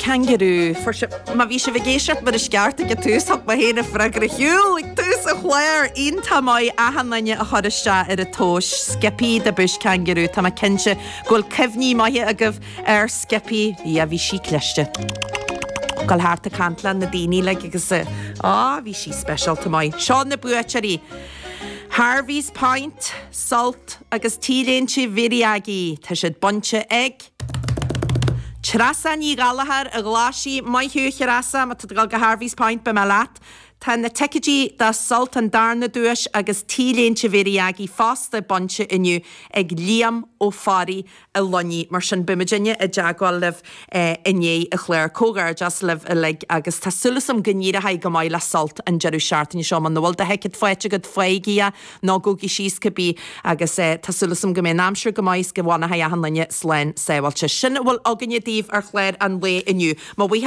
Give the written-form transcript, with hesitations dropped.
Kangaroo. Fuair sibh, má bhí sibh ag éisteacht mar is ceart ag an tús, thug mé féin an freagra ar shiúl ag tús an chláir. Iontach maith achan duine a chuir isteach ar an tomhas. Skippy the Bush Kangaroo. Tá mé cinnte go bhfuil cuimhní maithe agaibh ar Skippy. Yeah, bhí sí cliste. Gabháil thart ag caint le na daoine like agus á bhí sí speisialta maith. Seo na buaiteoirí. Harvey's Point, Sult agus T-léinte Mhéirí Aggie. Tá siad bainte ag. Treasa Ní Ghallchóir an Ghlaisigh, Maith thú a Threasa, má tá tú ag dul go Harvey's Point beidh mé leat. Tá na ticéidí do Sult an darna duais agus T-léinte Mhéirí Aggie fosta bainte inniu ag Liam Ó Fearraigh i Luinnigh. Mar sin beidh muidinne i dteagmháil libh i ndiaidh an chláir. Comhghairdeas libh uilig agus tá súil agam go n-éireoidh go maith le Sult an deireadh seachtaine seo. Muna bhfuil do thicéad faighte agat, faighigí é nó gabhaigí síos cibé agus tá súil agam go mbeidh an aimsir go maith is go bhfanfaidh achan duine slán sábháilte. Sin a bhfuil againne daoibh ar chlár an lae inniu. Mo bhuíochas.